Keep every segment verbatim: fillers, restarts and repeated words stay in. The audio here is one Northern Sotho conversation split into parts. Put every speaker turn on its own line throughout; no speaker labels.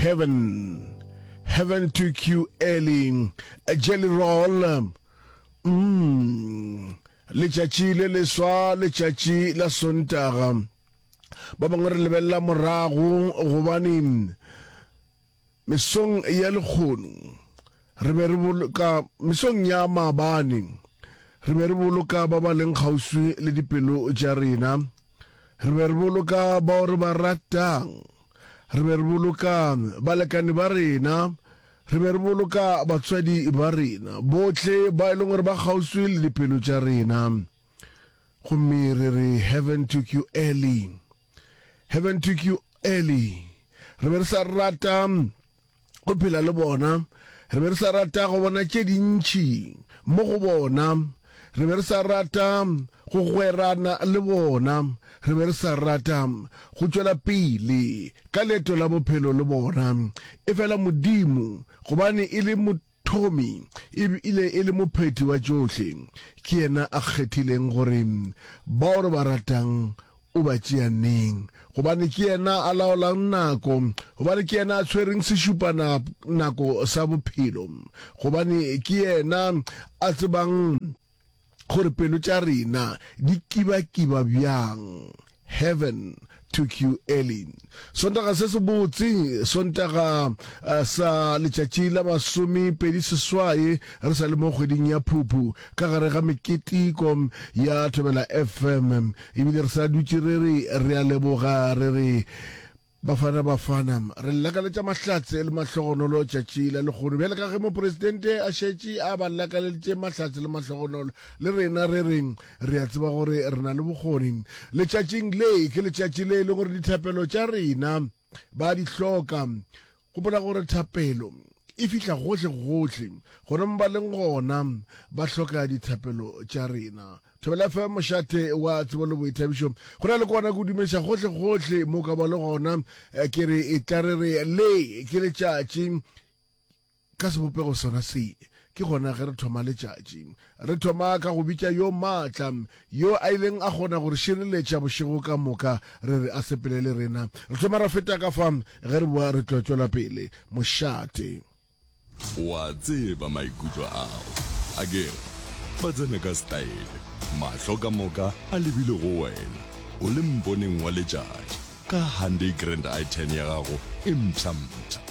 Heaven, Heaven took you early, Jelly Roll, mm, letšatši le leswa, letšatši la Sontaga. Ba bangwe re lebelela morago gobane mesong ya lekgono re be re boloka, mesong ya maabane re be re boloka ba ba leng kgauswi le dipelo tša rena, re be re boloka bao re ba ratang, re be re boloka balekane ba rena, re be re boloka batswadi ba rena, bohle ba e leng gore ba kgauswi le dipelo tša rena. Gomme re re, Heaven took you early. Heaven took you early. Re be re sa rata go phela le bona, re be re sa rata go bona tše dintši mo go bona, re be re sa rata go gwerana le bona, re be re sa rata go tšwela pele ka leeto la bophelo le bona. Efela Modimo, gobane e le Mothomi e bile e le Mophethi wa tšohle, ke yena a kgethileng gore bao re ba ratang o ba tšea neng, gobane ke yena a laolang nako, gobane ke yena a tshwereng sešupanako sa bophelo, gobane ke yena a tsebang gore pelo tša rena di kibakiba bjang. Heaven took you early. Sontaga se sebotse, Sontaga sa letšatši la masomepedi seswai, re sa le mo kgweding ya Phuphu, ka gare ga meketeko ya Thobela F M. Ebile re sa dutše re re re a leboga, re re Bafana Bafana, re lakaletša mahlatse le mahlogonolo tšatši la lehono. Bjale ka ge mopresidente a šetše a ba lakaleditše mahlatse le mahlogonolo, le rena re re re a tseba gore re na le bokgoni. Letšatšing le ke letšatši le e leng gore dithapelo tša rena ba di hloka. Gopola gore thapelo e fihla gohle-gohle, gona mo ba leng gona ba hloka dithapelo tša rena. Thobela F M, mošate wa tsebo le boithabišo. Go na le kona ke o dumediša gohle-gohle mo ka ba le gona. Ke re e tla re re le ke letšatši ka sebopego sona se. Ke gona ge re thoma letšatši. Re thoma ka go bitša yo maatla, yo a ileng a kgona go re šireletša bošego ka moka, re re a sepele le rena. Re thoma ra feta ka fa, ge re boa re tlo tšwela pele. Mošate.
O a tseba maikutlo ao. Akere ba tsena ka setaele, mahlo ka moka a lebile go wena, o le mponeng wa letšatši ka Hyundai Grand i ten ya gago e mpsha-mpsha.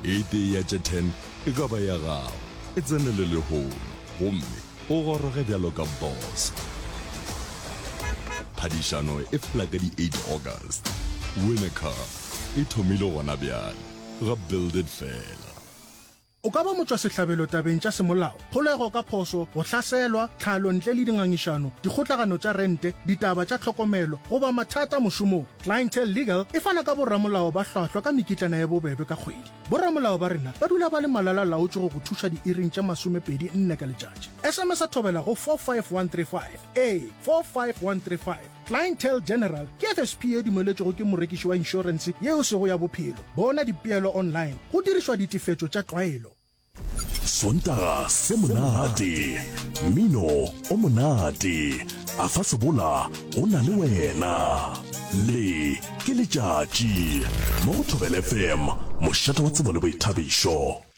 E tee ya tše ten e ka ba ya gago. E tsenele lehono gomme o goroge bjalo ka boss. Phadišano e fela ka di eight August. Win a car e thomile gona bjale ga Build It Fela.
O ka ba motšwasehlabelo tabeng tša semolao, kgolego ka phoso, go hlaselwa, tlhalo ntle le dingangišano, dikgotlagano tša rente, ditaba tša tlhokomelo, goba mathata mošomong. Clientele Legal e fana ka boramolao ba hlwahlwa ka mekitlana ye bobebe ka kgwedi. Boramolao ba rena ba dula ba le malala-laotšwe go go thuša diiring tše masomepedi nne ka letšatši. S M S thobela go four five one three five. Ee, four five one three five. Clientele General ke F S P ye dumeletšwego ke morekiši wa inšorense yeo sego ya bophelo. Bona dipeelo online go dirišwa ditefetšo tša tlwaelo.
Sontaga se monate, mmino o monate, a fa sebola o na le wena. Le ke letšatši mo go Thobela F M, mošate wa tsebo le boithabišo.